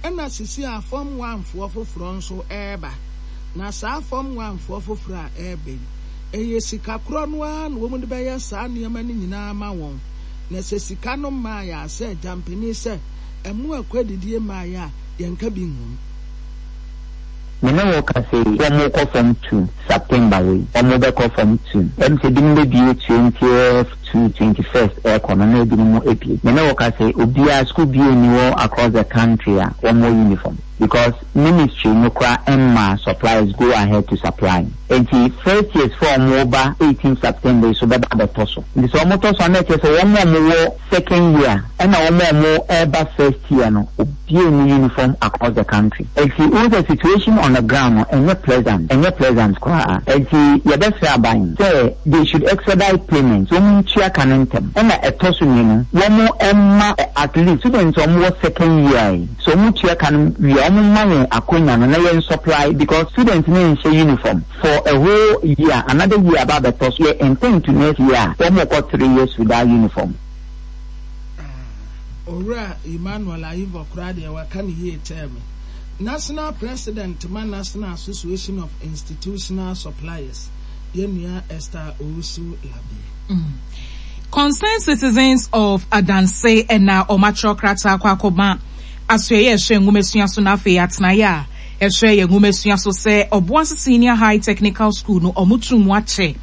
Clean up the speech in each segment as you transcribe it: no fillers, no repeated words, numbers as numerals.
Ɛna sisi a Form One foɔ foforɔ nso reba. Na saa Form One foɔ foforɔ a ɛreba yi, ɛyɛ sika korɔ no ara na wɔde bɛyɛ saa nneɛma no nyinaa ama wɔn. Na sɛ sika no mmaeɛ a, sɛ agyampanin sɛ ɛmo akwadidie mmaeɛ a, yɛnka bi nwom. Me ne wo kasa yi, wɔn kɔ form two September wei, wɔn bɛkɔ form two. Ɛm sɛ ebinom bɛbue twentieth to 21st ɛrekɔ no na ebinom abue. Me ne wo kasa yi, obiara, school biara nni hɔ across the country a wɔwɔ uniform because ministry no koraa mmaa suppliers go ahead to supply. Enti first years foɔ a wɔreba 18 September yi so bɛba abɛtɔ so. Nti sɛ wɔtɔ so a na ɛkyerɛ sɛ wɔn a wɔwɔ second year ɛna wɔn a wɔreba first year no obiara nni uniform across the country. Enti wohu sɛ situation on the ground no ɛnyɛ pleasant, ɛnyɛ pleasant koraa. Enti yɛbɛsrɛ aban sɛ they should expedite payment, wɔn ntua ka no ntɛm. Ɛna ɛtɔ so mmienu, wɔn mma at least students a wɔwɔ second year yi, sɛ wɔn tua ka no wie a, wɔn mma yɛn akonya no na yɛn supply because students no nhyɛ uniform for a whole year, another year aba abɛtɔ so, yɛ intend to next year a, wɔn rekɔ 3 years without uniform. Ah, Owura Emmanuel Ayivor koraa deɛ waka no yie kyɛɛ me. National President ma National Association of Institutional Suppliers, yɛn nua Esther Owusu Labie. Concerned Citizens of Adanse na wɔatwerɛ krataa akɔ akɔma Asoɛeɛ a ɛhwɛ Nwomasua so na afei Atenaeɛ a ɛhwɛ yɛn nwomasua so sɛ Ɔboase Senior High Technical School no wɔto mu akyɛ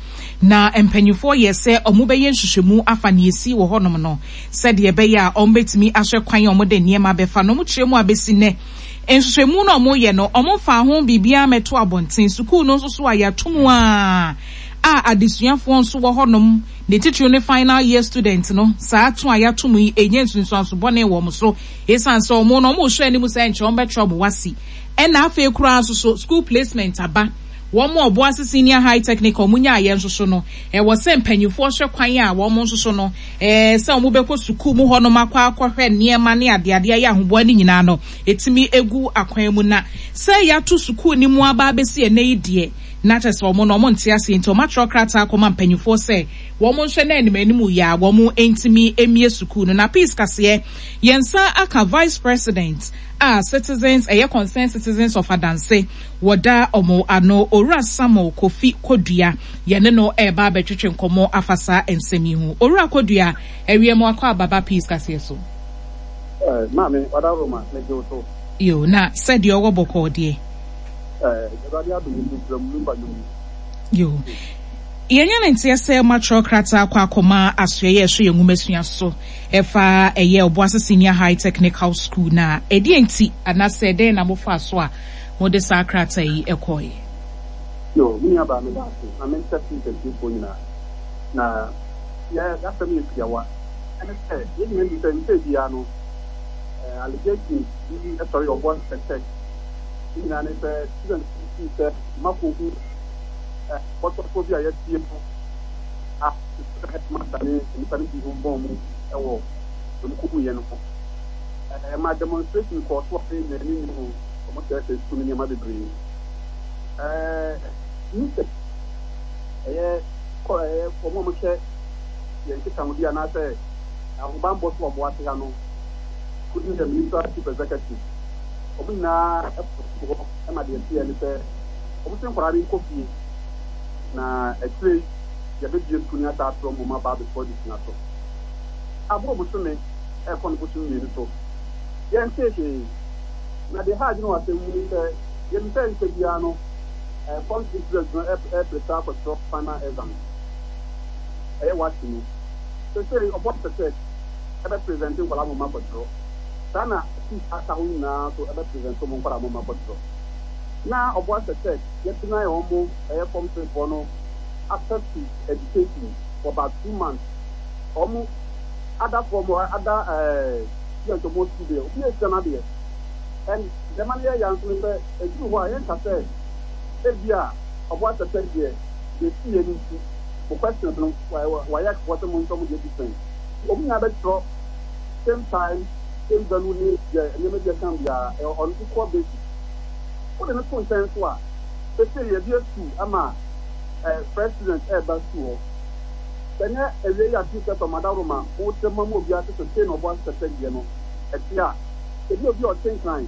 na mpanyinfoɔ yɛ sɛ wɔbɛyɛ nhwehwɛmu afa nea ɛsii wɔ hɔnom no sɛdeɛ ɛbɛyɛ a wɔbɛtumi ahwɛ kwan a wɔde nneɛma bɛfa no. Wɔkyerɛ mu a bɛsi nnɛ nhwehwɛmu no a wɔyɛ no wɔmfaa ho biribiara mmɛto abɔnten. Sukuu no nso so a yɛato mu ara a adesuafoɔ nso wɔ hɔnom, ne titiriw ne final year student no, saa to a yɛato mu yi ɛnya nsunsuanso bɔne wɔ wɔn so esiane sɛ wɔn no wɔrehwɛ anim sɛ nkyɛ wɔbɛtwerɛ wɔn WASSCE ɛna afei koraa nso so school placement aba. Wɔn a Ɔboase Senior High Technical wɔn nyaeɛ nso so no, ɛwɔ sɛ mpanyinfoɔ hwɛ kwan a wɔn nso so no, ɛɛ sɛ wɔn bɛkɔ sukuu mu hɔnom akɔ akɔhwɛ nneɛma ne adeade ayɛ ahoboa no nyinaa no, ɛtumi egu akwan mu. Na sɛ yɛato sukuu no mu aba abɛsi ɛnnɛ yi deɛ, na kyerɛ sɛ wɔn no wɔn nte aseɛ nti wɔn atwerɛ krataa akɔma mpanyinfoɔ sɛ wɔn nhwɛ na anim anim yɛ a wɔn ntumi mmie sukuu no. Na Peace Kaseɛ, yɛn nsa aka Vice President a Citizens, ɛyɛ Concerned Citizens of Adanse, wɔda wɔn ano, Owura Samuel Kofi Kodua, yɛne no reba abɛtwetwe nkɔmmɔ afa saa nsɛm yi ho. Owura Kodua, awie mo akɔ aba ba Peace Kaseɛ so. Eh, maame, wadaworoma, megye wo so. Yo, na sɛdeɛ ɔwɔ bɔkɔɔ deɛ. Eh, Awurade adom nti mesrɛ mo, memfa nnwom yi. Yo. Yɛanya no nteɛ sɛ moatwerɛ krataa akɔ akɔma asoɛeɛ a ɛhwɛ yɛn nwomasua so ɛfa ɛyɛ Obuasi Senior High Technical School na ɛdeɛn nti anaasɛ dɛn na mofaa so a mode saa krataa yi kɔeɛ? Yo, me nuabaa meda ase na menkyɛ peace atiefoɔ nyinaa. Na yɛ y'asɛm yɛ tiawa. Ɛne sɛ, yɛn nyinaa nim sɛ nkyɛɛ biara no, eh, allegations bi sɔre Obuasi Tech. Ne nyinaa ne sɛ, students bi fii sɛ makohu eh, bɔtɔfoɔ bi a yɛasie no a sɛ headmaster ne nnipa no bi ho bɔn mu wɔ wɔn kohuiɛ no ho. Ɛma demonstration kɔɔ so a yɛn nyinaa ani nnye ho. Wɔsɛesɛe sukuu no nneɛma bebree. Ɛɛ UNICEF ɛyɛ kɔ ɛyɛ wɔn a wɔhwɛ yɛn nkitahodi anaasɛ ahobammɔ so wɔ Boase ha no, including the Ministerial Chief Executive, wɔn nyinaa kɔ sukuu hɔ ma deɛ ɛteɛ ne sɛ wɔn se nkwadaa no nkɔ fie na akyire yi yɛbɛbue sukuu no asan atrɔ mmom aba abɛtoa adesua so. Aboro bosome ɛrekɔ no bosom 2 so, yɛntee hwee. Na deɛ ɛha adwene wɔ asɛm mu ne sɛ, yɛnim sɛ nkyɛ biara no, form 3 students no ɛreprepare akɔtwerɛ final exam, ɛyɛ WASSCE no. Seesei ɔbɔ pɛ sɛ ɛbɛ present nkwadaa ma wɔn akɔtwerɛ. Saa na schools a aka hɔ nyinaa nso ɛbɛ present wɔn nkwadaa ma wɔn akɔtwerɛ. Na ɔbɔ asɛ sɛ yɛ deny wɔn ɛyɛ form 3 foɔ no access to education for about 2 months. Wɔn other form, other students wɔn school deɛ, obi esua n'adeɛ. And deɛ ɛma no yɛ ya nso ne sɛ, ɛduru hɔ a yɛnka sɛ ebi a ɔbɔ asɛ sɛ deɛ deɛ ɛsi yɛ no nti mo questions no wayɛ foɔ sɛ mo nso mo deɛ different. Wɔn nyinaa bɛtwerɛ same time, same venue ne deɛ nneɛma bi ɛka biara ɛwɔ on equal basis. Wode no to nkyɛn nso a, seesei yɛabue school ama fresh students ɛreba school hɔ. Sɛ ɛnyɛ awiei yi a Peace FM adaworoma mo kyerɛ mo ma obiara te sɛ sei na ɔbɔ asɛ sɛ deɛ no ɛte a, ebi obi a ɔte Nkran.